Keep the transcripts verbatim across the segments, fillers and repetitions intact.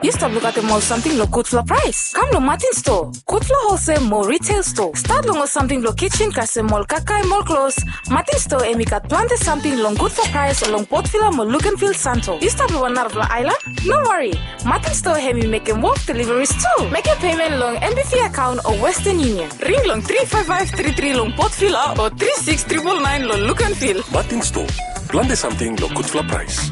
Yu stap lukaotem ol samting long gudfala praes? Kam long Martin Store, gudfala holsel mo retail store. Stat long ol samting blong kitchen kasem ol kakae mo ol klos. Martin Store hemi gat plante samting long gudfala praes long Port Vila mo Luganville, Santo. Yu stap long wan narafala aelan? No wari. Martin Store hemi mekem wok deliveries tu. Mekem payment long N B V account o Western Union. Ring long three five five three three long Port Vila o three six triple nine long Luganville. Martin Store, plante samting long gudfala praes.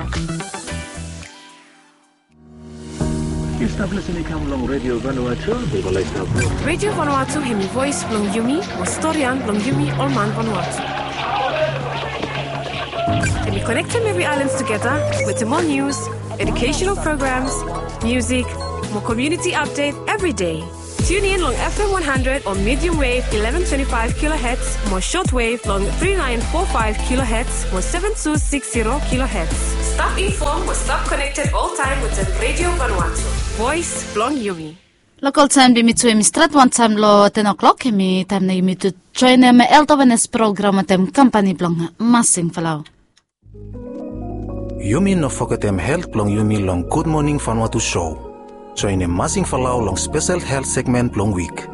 Yu stap lisin i kam long Radio Vanuatu, mi go laik stap. Radio Vanuatu hemi voes blong yumi, mo storian blong yumi ol man Vanuatu. Hemi konektem evri aelan tugeta wetem ol nius, educational programs, musik, mo community update evri dei. Tune in long F M one hundred o medium wave eleven twenty-five kilohertz mo shortwave long three nine four five kilohertz mo seven two six zero kilohertz. Stap inform mo stap connected oltaem wetem Radio Vanuatu, voes blong yumi. Lokal taem blong yumi tu hemi stret wantaem long ten o'clock, hemi taem nao yumi tu joenem health awareness program wetem kampani blong Masing Falau. Yumi no fogetem helt blong yumi long Gud Moning Vanuatu show. Joenem Masing Falau long spesel helt segmen blong wik.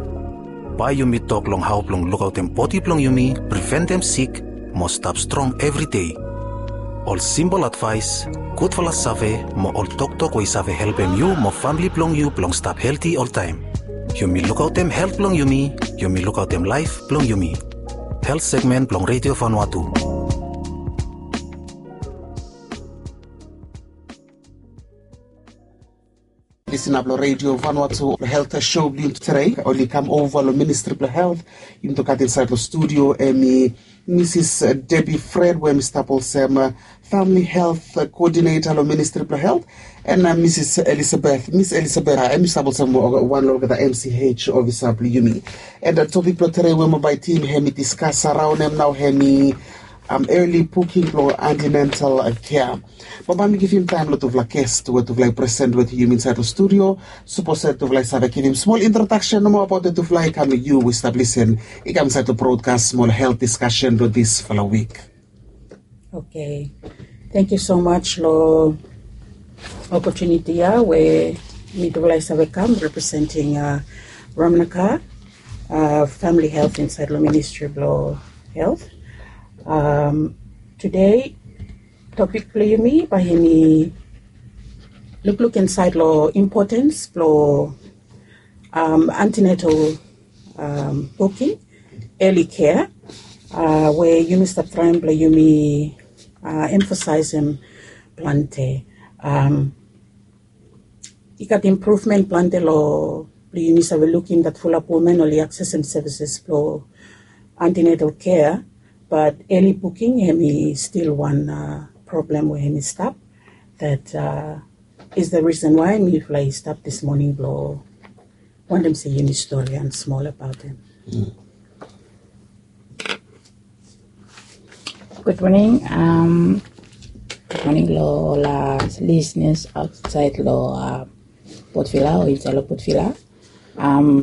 Bae yumi tok long hao blong lukaotem bodi blong yumi, priventem sik, mo stap strong evri dei. Ol simpol advaes, gudfala save, mo ol toktok we i save helpem yu mo famle blong yu blong stap helti oltaem. Yumi lukaotem helt blong yumi, yumi lukaotem laef blong yumi. Helt segmen blong Radio Vanuatu. Lisin ap long Radio Vanuatu, health show blong yumi tude oli kam ova long Ministri blong Health. Yumi tu gat insaed long studio hemi Misis Debbie Fred we hemi stap olsem famili health koodineta long Ministri blong Health, and Misis Elizabeth, Mis Elizabeth hemi stap olsem wan long olgeta M C H ofisa blong yumi. And topik blong tude we mi bae yumi hemi diskas raon hem nao hemi early booking blong antenatal care. Bae mi givim taem long tufala ges we tufala i present wetem yumi insaed long studio. Sapos tufala i save givim smol introdaksen nomo abaot tufala, i kam long yu we stap lisin, i kam insaed long brodkas mo long helt diskasen blong disfala wik. Oke. Tangkiu so maj long opotuniti ya we mitufala i save kam representing Ramnacar Famili Helt insaed long Ministri blong Helt. Tude topik blong yumi bae yumi lukluk insaed long impotens blong antenatal booking, early care, we yumi stap traem blong yumi emfasaesem plante. I gat impruvmen plante long blong yumi save lukim dat fulap woman oli aksesem sevises blong antenatal care, bat early booking hemi stil wan problem we hemi stap. Dat is the reason why mifala i stap dis moning blong wantem se yumi storian smol abaot hem. Gud moning. Gud moning long ol lisenas aotsaed long Port Vila o insaed long Port Vila.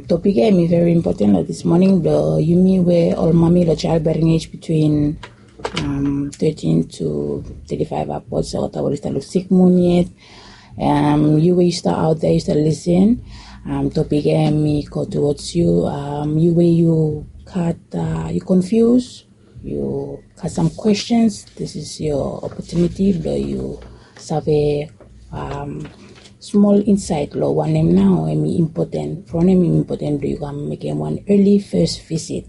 Topik ya hemi veri impoten long dis moning blong yumi we ol mami long jael bering ej bitwin thirteen to thirty-five upwards, olgeta we oli stap long sikmun yet. Yu we yu stap aot dea, yu stap lisin, topik ya hemi go towards yu. Yu we yu gat, yu confuse, yu gat sam kwestens, this is your opportunity blong yu save smol insaed long wanem nao hemi impoten. From wanem hemi impoten blong yu kam mekem wan early first visit.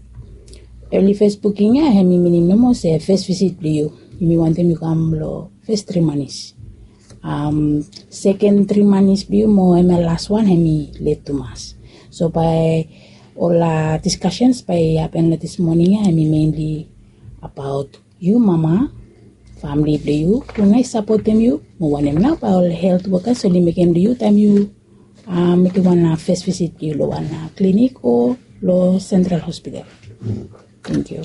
Early first booking ya hemi minim nomo se first visit blong yu, yumi wantem yu kam long first three months. Second three months blong yu mo hemia las wan hemi let tumas. So bae ol diskasens bae i hapen long dis moning ya hemi mainly abaot yu mama, famili blong yu, hu nao i sapotem yu, mo wanem nao bae ol helt wokas oli mekem long yu taem yu mekem wan first visit blong yu long wan klinik o long Central Hospital. Tangkiu.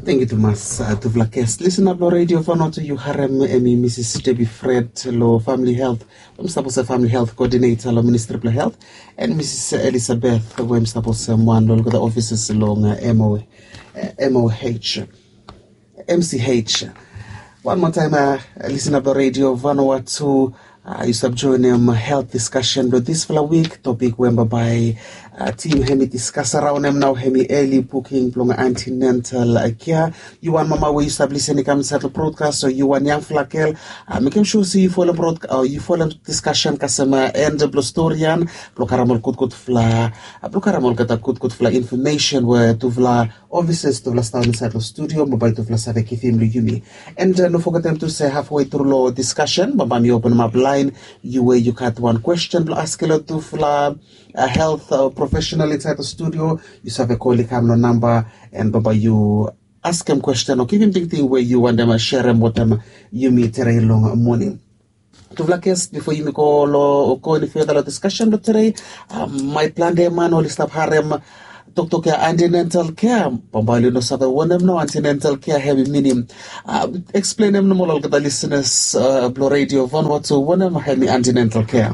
Tangkiu tumas tufala ges. Lisin ap long Radio Vanuatu, yu harem hemi Misis Debbie Fred long famili helt, we hemi stap olsem famili helt koodineta long Ministri blong Helt, and Misis Elizabeth we hemi stap olsem wan long olgeta ofisas long M O H, M C H. Wan moa taem, lisin ap long Radio Vanuatu, Yu save joenem helt diskasen blong disfala wik. Topik we bambae tim hem i diskas araonem nao hem i eli buking blong antinental kea. Yu wan mama we yu save lisen i kam insaed long brodkas o yu wan yangfala gel, mekem sua se yu folem diskasen kasem en blong storian blong karem ol gudgudfala blong karem olgeta gudgudfala infomesen we tufala ofisas tufala stap insaed long studio mo bae tufala save givim long yumi. And no fogetem tu se hafwe tru long diskasen bambae mi openem ap laen. Yu we yu gat wan kwesten blong askem long tufala helt profesenal insaed long studio, yu save kol i kam long namba and bambae yu askem kwesten o givim tingting we yu wantem serem wetem yumi tede long moning. Tufala ges, bifo yumi go long go eni feda long diskasen blong tede, maet plante man oli stap harem toktok ya antinental kea. Bambae oli no save wanem nao antinental kea hem i minim. Eksplenem nomo long olgeta lisenas blong redio Vanuatu wanem hem i antinental kea.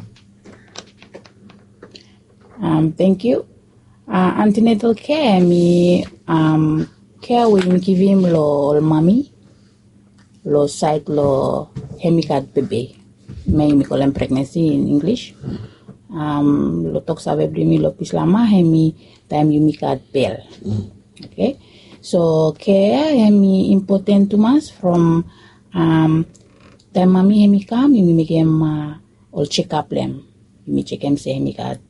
Tengkiu. Antinental kea hem i kea we yumi givim long ol mami long saed long hem i gat bebe. Me yumi kolem pregnansi in Inglis. Long toksave blong yumi long Bislama hem i taem yumi gat bel. Oke. So kea hem i impoten tumas from taem mami hem i kam yumi mekem ol jekap blong hem. Yumi jekem se hem i gat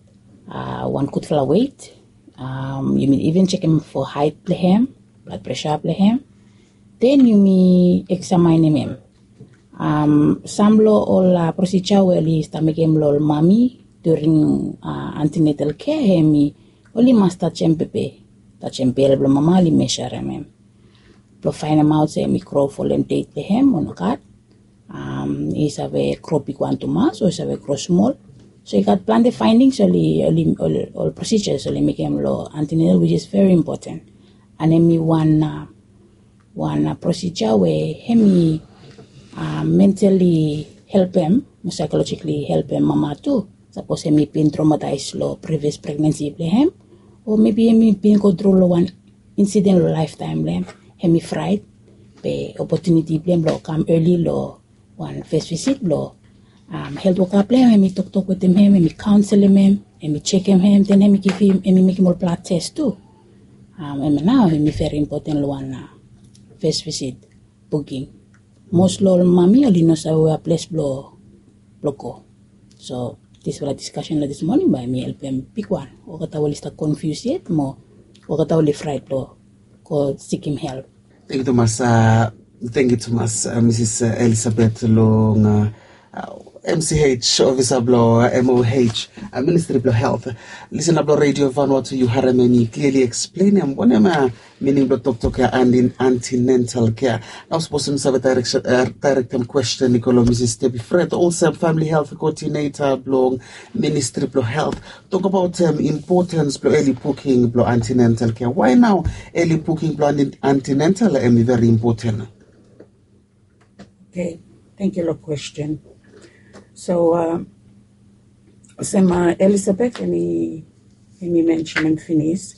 wan gudfala wet. Yumi iven jekem fo haet blong hem, blad presa blong hem. Den yumi eksamaenem hem. Sam long ol prosija we oli stap mekem long ol mami during antinetal kea hem i oli mas tajem bebe, tajem bel blong mama oli mesarem hem blong faenemaot se hem i gro folem det blong hem o nogat. I save gro bigwan tumas o i save gro smol. So i gat plante faenings oli ol prosijas oli mekem long antinetal wis is veri impoten. And hem i wan wan prosija we hem i mentali helpem mo saikolojikali helpem mama tu. Sapos hem i bin tromataes long privias pregnansi blong hem o mebi hem i bin gotru long wan insiden long laeftaem blong hem hem i fraet. Be opotuniti blong hem blong kam eli long wan fes visit blong helt woka blong hem hem i toktok wetem hem hem i kaonselem hem hem i jekem hem den hem i givim hem i mekem ol blad tes tu. Hem nao hem i veri impoten long wan fes visit buking. Mos long ol mami oli no save wea ples blong go. So disfala diskasen long dis moning bae mi helpem bigwan olgeta we oli stap konfius yet mo olgeta we oli fraet blong go sikim help. Tengkiu tumas. Tengkiu tumas misis elisabet long mch ofisa blong moh ministri blong helt. Lisena blong redio vanua tu yu harem em i kliali eksplenem wanem mining blong toktok ya antinental kea. Nao sapos yumi save daerektem kwesten i go long misis debi fred olsem famili helt koodineta blong ministri blong helt, tokabaot impotens blong eli buking blong antinental kea wae nao eli buking blong antinental em i veri impoten? Oke. Tengkiu long kwesten. So olsem elisabet em i mensenem finis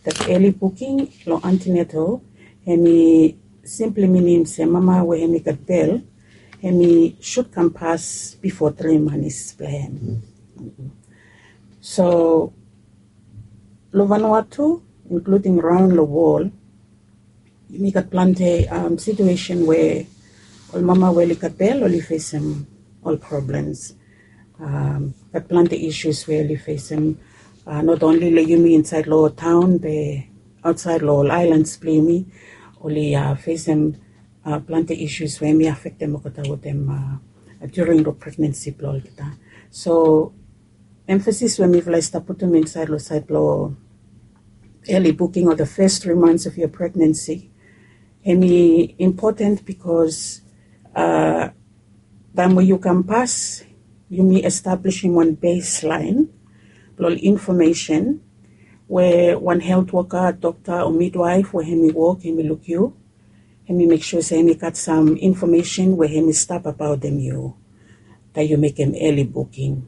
dat eli buking long antinetal em i simpli minim se mama we em i gat bel em i sut kam pas bifo tri manis blong em. So long vanua tu inkluding raon long wol yumi gat plante situesen we ol mama we oli gat bel oli fesem ol problems. Gat plante isus we oli fesem not onli long yumi insaed long taon be aotsaed long ol aelans blong yumi oli fesem plante isus we em i afektem olgeta wetem during long pregnansi blong olgeta. So emfasis we mifala i stap putum insaed long saed blong eli buking o the fes tri months of your pregnansi em i impoten bikos taem we yu kam pas yumi establisim wan beslaen blong ol infomesen we wan helt woka dokta o midwaef we em i wok em i luk yu em i mek sua se em i gat sam infomesen we em i stap abaotem yu. Taem yu mekem eli buking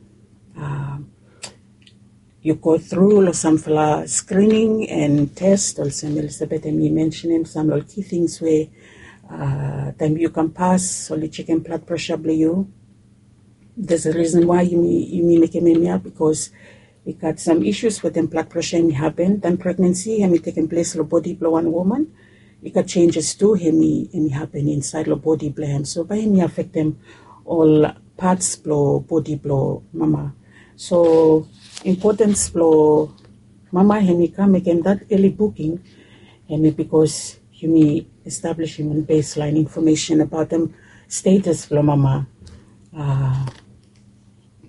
yu go tru long samfala skrining en tes olsem elisabet em i mensenem sam long ol ki tings we taem yu kam pas oli jekem blad presa blong yu. There's a reason why yumi, yumi mekem hemia, because i gat some issues wetem blood pressure hemi happen taem pregnancy hemi tekem ples long bodi blong wan woman. I gat changes tu hemi, hemi happen insaed long bodi blong hem, so bae hemi afektem ol parts blong bodi blong mama. So importance blong mama hemi kam mekem that early booking hemi because yumi establishim wan baseline information about the status blong mama. Uh,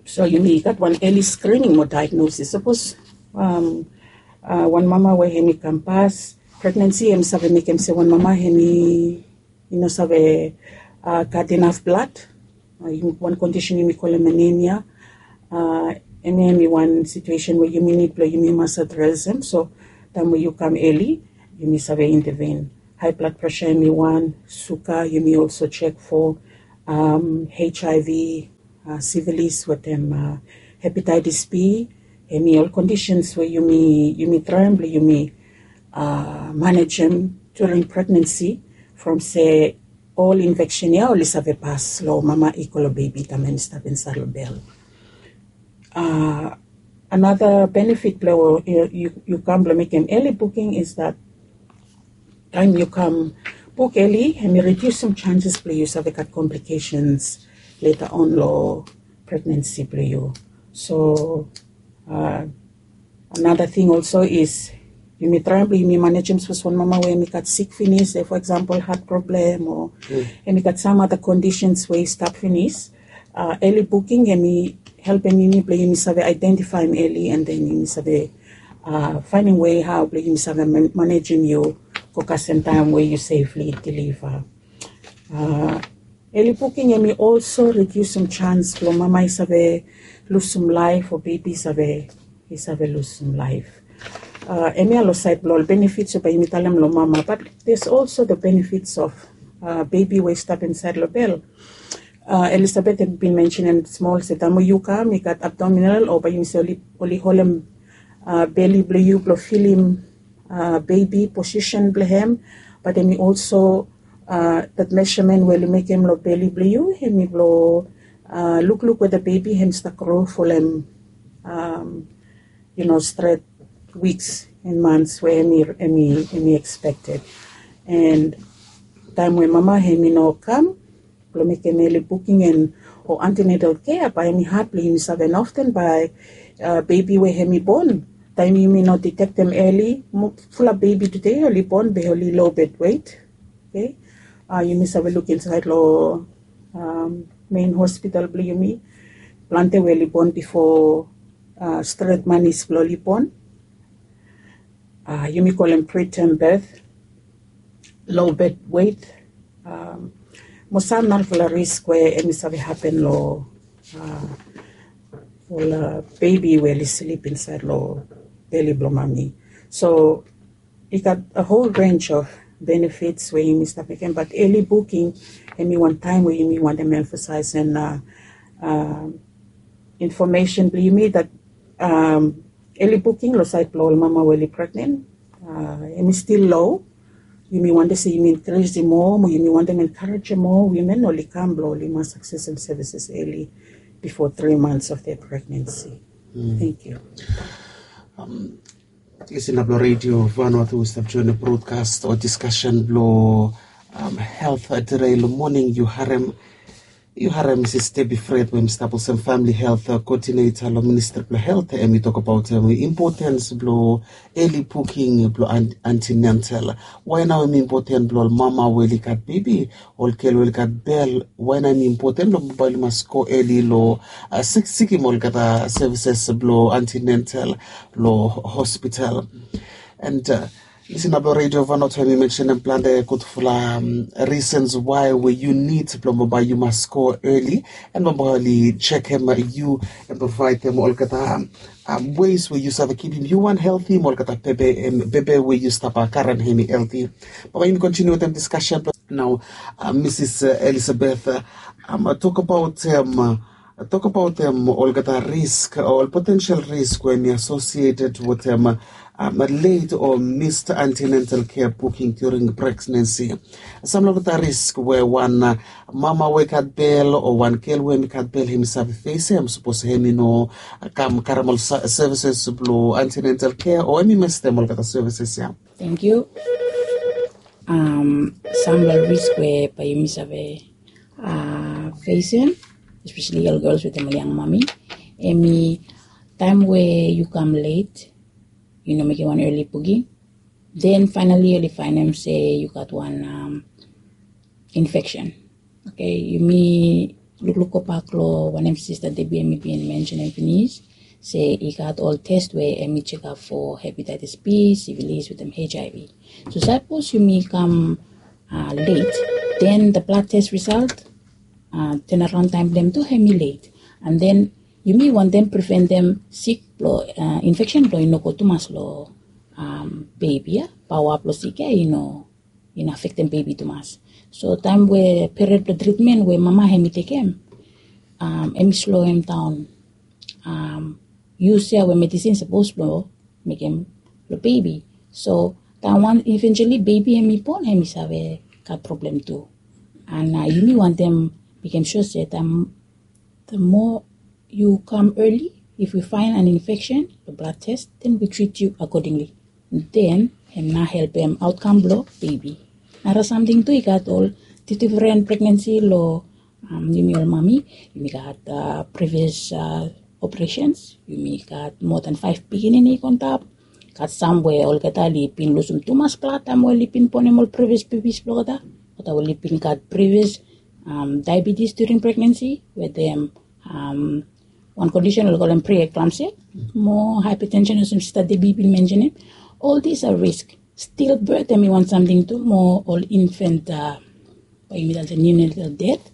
so yumi gat wan early screening mo diagnosis. Sapos um, uh, wan mama we hemi kam pas pregnancy, hemi save mekem se wan mama hemi i no save uh, gat enough blood. Uh, wan condition yumi kolem anemia. Uh, hemi hemi wan situation we yumi nid blong yumi mas address hem. So taem we yu kam early, yumi save intervene. High blood pressure hemi wan, suka, yumi also check for um, H I V, uh, syphilis wetem uh, hepatitis B. Hemi ol conditions we yumi, yumi traem blong yumi uh, manejem during pregnancy from se ol infection ia oli save pas long mama i go long bebi taem hemi stap insaed long bel. Uh, another benefit blong yu, yu, yu kam blong mekem early booking is that taem yu kam book early hemi reduce some chances blong yu save gat complications later on long pregnancy blong yu. So uh, another thing also is yumi traem blong yumi manejem sapos wan mama we hemi gat sik finis, se for example heart problem o hemi gat some other conditions we i stap finis. Uh, early booking hemi helpem yumi blong yumi save identifaem early and then yumi save uh, finding way how blong yumi save man- manejem yu go kasem taem we yu safely deliver. Uh, early booking hemi also reduce some chance blong mama i save lose some life o bebi i save, i save lose some life. Uh, hemia long saed blong ol benefits we bae yumi talem long mama, but there's also the benefits of uh, bebi we i stap insaed long bel. Uh, Elizabeth hemi bin mentionem smol se taem we yu kam i gat abdominal o bae yumi se oli, oli holem uh, beli blong yu blong filim uh, bebi position blong hem. But hemi also uh, that measurement we oli mekem long beli blong yu hemi blong uh, lukluk weda bebi hem stap gro folem um, you know, stret weeks and months we hemi, hemi, hemi expected. And taem we mama hemi no kam blong mekem early booking and o antenatal care bae hemi had blong yumi save noften bae uh, bebi we hemi bon taem yumi no detect hem early. Mo- fulap bebi tede oli bon be oli low birth weight. Okay. Uh, yumi save luk insaed long um, main hospital blong yumi plante we oli bon bifo uh, stret manis blong oli bon. Uh, yumi kolem preterm birth, low birth weight, um, mo sam narafala risk we hemi save hapen long uh, ol uh, bebi we oli slip insaed long beli blong mami. So i gat a whole range of benefits we yumi stap mekem, but early booking hemi wan taem we yumi wantem emphasize and uh, uh, information blong yumi that um, early booking long saed blong ol mama we oli pregnant uh, hemi still low. Yumi wantem se yumi increase moa mo yumi wantem encourage moa women oli kam blong oli mas access services early before three months of their pregnancy. Thank you. Listener blong Radio Vanuatu, we stap join the broadcast o discussion blong um, health uh, today long morning. Yu harem, yu harem Mrs Debbie Fred we hemi stap olsem family health uh, coordinator long Ministry blong Health. Hemi tok abaot um, importance blong early booking blong an- antenatal. Why nao hemi important blong ol mama we oli gat bebi, ol gel we oli gat bel, why nao hemi important blong bae oli mas go early long uh, sik- sikim olgeta services blong antenatal long hospital. And uh, listener blong Radio Vanuatu, hemi mentionem plante gudfala um, reasons why we yu nid blong bae yu mas go early and bae oli check hem yu and provide them olgeta um, ways we yu save kipim yu wan healthy mo olgeta bebe, um, bebe we yu stap uh, karen hemi healthy. Bae yumi continue wetem discussion nao. Uh, Mrs uh, Elizabeth, uh, um, tok abaot um, uh, Tokbaot olgeta risk o ol potensel risk we hemi associated wetem late o missed antenatal care booking during pregnancy. Samla olgeta risk we wan mama we i gat bel o wan gel we hemi gat bel hemi save fesem sapos hemi no kam karem ol services blong antenatal care o hemi mistem olgeta services ya. Thank you. Samla ol risk we bae yumi save fesem, especially ol gels wetem ol yang mami, hemi taem we yu kam late, yu no mekem wan early booking, then finally oli faenem se yu gat wan infection. Okay, yumi lukluk gobak long wanem Sista Debbie hemi bin mensenem finis, se i gat ol test we hemi jekap fo hepatitis B, syphilis wetem HIV. So sapos yumi kam late, then the blood test result, turnaround taem blong hem tu hemi late. And then yumi wantem preventem sik blong infection blong i no go tumas long bebi ya. Paoa blong sik ya i no i no afektem bebi tumas. So taem we period blong tritmen we mama hemi tekem, hemi sloem daon yus ya we medisin sapos blong mekem long bebi. So taem wan eventually bebi hemi bon, hemi save gat problem tu. And yumi wantem mekem sua se taem the more you come early, if we find an infection, the blood test, then we treat you accordingly. Then hem nao helpem outcome blong bebi. Nara samting tu, i gat ol difdifren pregnansi long yumi ol mami. Yumi gat previous operations, yumi gat moa than five pikinini i go antap. Gat sam we olgeta oli bin lusum tumas blad taem we oli bin bonem ol previous bebis blong olgeta. Olgeta we oli bin gat previous diabetes during pregnancy wetem wan kondisen oli kolem preeclampsia mo hypertension olsem Sista Debbie bin mensenem. Ol dis a risk. Stillbirth hemi wan samting tu mo ol infant bae yumi talem se neonatal death.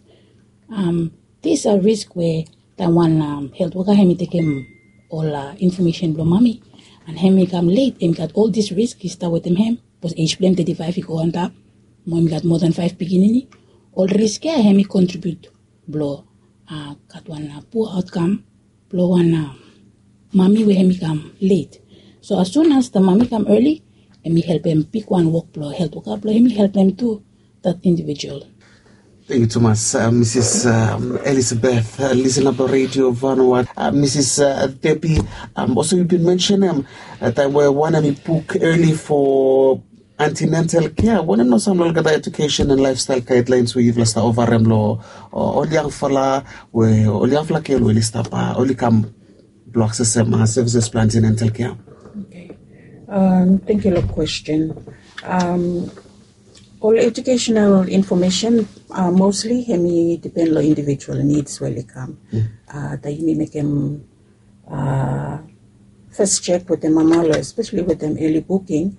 Dis a risk we taem wan helt woka hemi tekem ol infomesen blong mami and hemi kam late, hemi gat ol dis risk i stap wetem hem. Sapos age blong hem teti faef i go antap mo hemi gat moa than faef pikinini, ol risk ya hemi kontribiut blong gat wan pua aotkam blong wan mami we hemi kam late. So as soon as the mami kam early, hemi helpem bigwan wok blong helt woka blong hemi helpem tu that individual. Tangkiu tumas Misis Elizabeth, lisena blong Redio Vanuatu. Misis Debbie, olsem yu bin mensenem, taem we wan hemi buk early fo antenatal care, wanem nao samla olgeta education and lifestyle guidelines we yufala stap ofarem long ol yangfala, we ol yangfala gel we oli stap, oli kam blong aksesem services blong antenatal care? Okay. Tangkiu long kwestin. Ol educational information mostly hemi dipen long individual needs we oli kam. Taem yumi mekem first check wetem mama long, especially wetem early booking,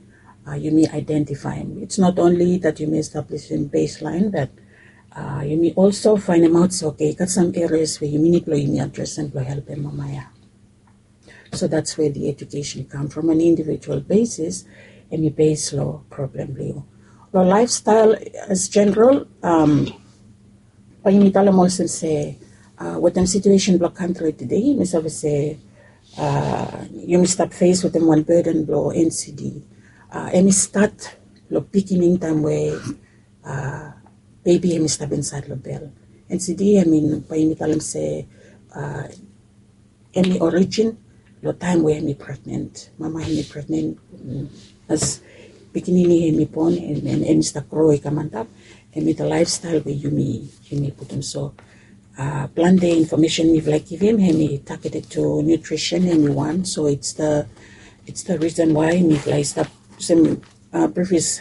yumi identifaem. It's not only that yumi establishim baseline, but yumi also faenemaot se okay, i gat sam areas we yumi nid blong yumi adresem blong helpem mama ya. So that's where the education come from an individual basis, hemi base long problem blong yu. Long lifestyle as general, bae yumi talem olsem se wetem situation blong kantri tede, yumi save se yumi stap fes wetem wan burden blong NCD. Hemi stat long beginning taem we bebi hemi stap insaed long bel. NCD hemi, bae yumi talem se hemi origin long taem we hemi pregnant. Mama hemi pregnant, as pikinini hemi bon and hemi stap gro i kam antap, hemi the lifestyle we yumi putum. So plante infomesen mifala i givim hemi targeted to nutrition, hemi wan. So it's the it's the reason why mifala i stap olsem previous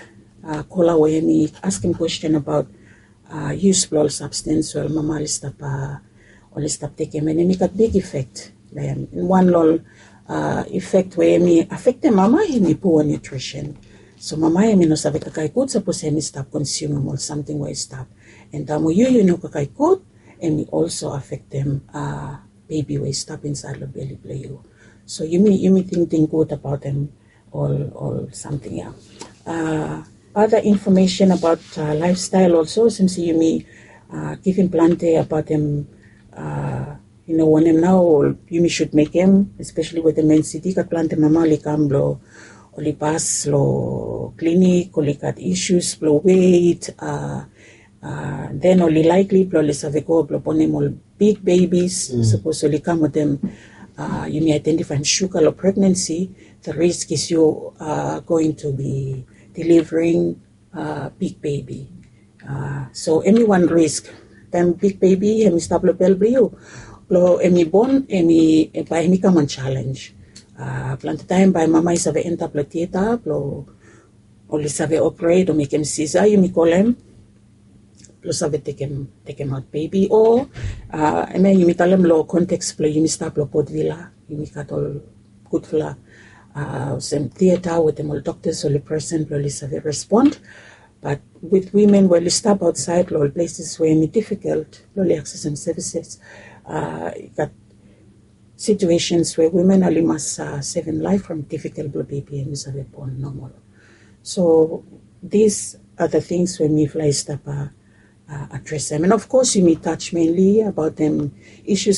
kola we hemi askem kwestin abaot use blong ol substance we ol mama oli stap oli stap tekem, and hemi gat big effect long hem. Wan long ol effect we hemi afektem mama hemi poor nutrition. So mama hemi no save kakae gud sapos hemi stap consume ol samting we i stap. And taem we yu yu no kakae gud, hemi also afektem bebi we i stap insaed long beli blong yu. So yumi yumi tingting gud abaotem ol ol samting ya. Other information about lifestyle also, since yumi givim plante abaotem I no wanem nao yumi sud mekem, espeseli wetem NCD gat plante mama oli kam blong oli pas long klinik, oli gat isus blong wet, den oli likely blong oli save go blong bonem ol big babies. Sapos oli kam wetem yumi identifaem suga long pregnancy, the risk is you are going to be delivering big baby. So em i wan risk taem big baby em i stap long bel blong yu, blong em i bon, em i bae em i kam wan challenge. Plante taem bae mama i save antap long tieta blong oli save operate o mekem sisa yumi kolem, blong save tekem tekem aot bebi o em ya yumi talem long konteks blong yumi stap long Port Vila, yumi gat ol gudfala olsem tieta wetem ol doktas oli presen blong oli save respond. Bat wit wimen we oli stap aotsaed long ol pleses we em i difikalt blong oli aksesem sevises, i gat situations we wimen oli mas sevem laef from difikalt blong bebi em i save bon nomol. So dis a the things we mifala i stap adresem, and of course yumi touch mainly abaotem isus